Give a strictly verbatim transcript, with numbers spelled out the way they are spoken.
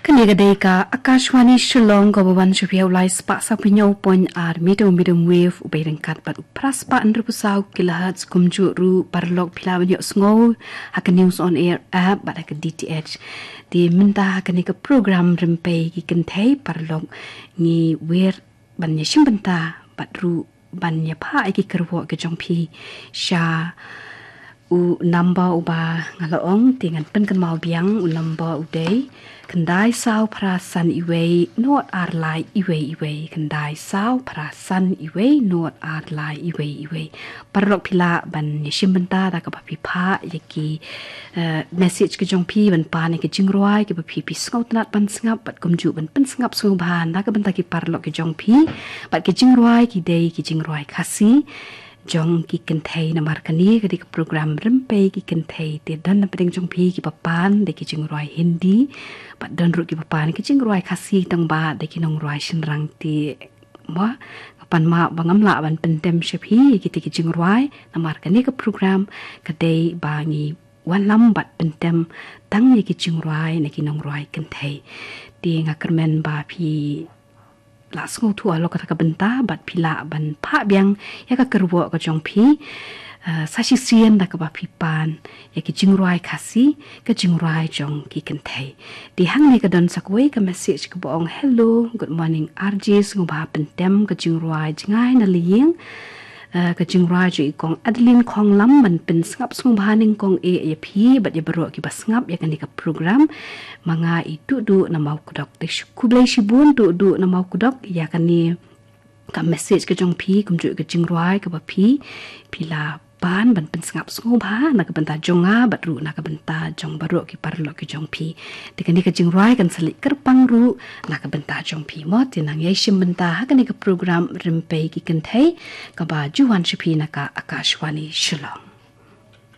Kane ka dei ka Akashvani Shillong, kaba wan sha phi ha u lai spah saw phew hynñiew point ar meter medium wave, u bei ryngkat bad u phra spah hynriew phew saw kilohertz. Kumjuh ruh paralok phi lah ban ïohsngew ha ka News on Air app bad ha ka D T H. Te mynta ha kane ka program Rympei ki Kynthei, paralok, ngi wer ban ïashim bynta bad ruh ban ïaphah ïa ki kyrwoh ki jong phi sha u number uba nga la ong. Te ngan pynkynmaw biang, u number u dei khyndai saw phra san wei wei, nod ar lai wei wei wei, khyndai saw phra san wei wei, nod ar lai wei wei wei. Paralok phi lah ban ïashim bynta da kaba phi phah ïa ki, eh, message ki jong phi, ban pan ïa ki jingrwai kiba phi, phi sngewtynnat ban sngap, bad kumjuh ban pynsngap sngewbha na ka bynta ki paralok ki jong phi bad ki jingrwai ki dei ki jingrwai Khasi jong ki kynthei. Namar kane ka dei ka program Rympei ki Kynthei, te don na pdeng jong phi kiba pan da ki jingrwai Hindi, bad don ruh kiba pan ki jingrwai Khasi, tang ba da ki nongrwai shynrang. Te mo, nga pan map ba ngam lah ban pyntem sha phi ïa kita ki jingrwai, namar kane ka program ka dei ba ngi wanlam bad pyntem tang ïa ki jingrwai na ki nongrwai kynthei. Te nga kyrmen ba phi lah sngewthuh halor kata ka bynta bad phi lah ban phah biang ïa ka kyrwoh ka jong phi, eh, sa shisien da kaba phi pan ïa ki jingrwai Khasi, ka jingrwai jong ki kynthei. Te hangne ka don sa kawei ka message kaba ong, "Hello, good morning R J, sngewbha pyntem ka jingrwai Jngai na Lyieng, eh, ka jingrwai jong i kong Adeline Khonglam, ban pynsngap sngewbha nyngkong eh ïa phi bad ïa baroh kiba sngap ïa kane ka program. Ma nga i Duhduh na Mawkdok." Te shu khublei shibun Duhduh na Mawkdok ïa kane ka message ka jong phi, kumjuh ka jingrwai kaba phi, phi la pan ban pynsngap sngewbha na ka bynta jong nga bad ruh na ka bynta jong baroh ki paralok ki jong phi. Te kane ka jingrwai kan sa leit kyrpang ruh na ka bynta jong phi mo. Te nang ïashim bynta ha kane ka program Rympei ki Kynthei, kaba ju wan sha phi na ka Akashvani Shillong.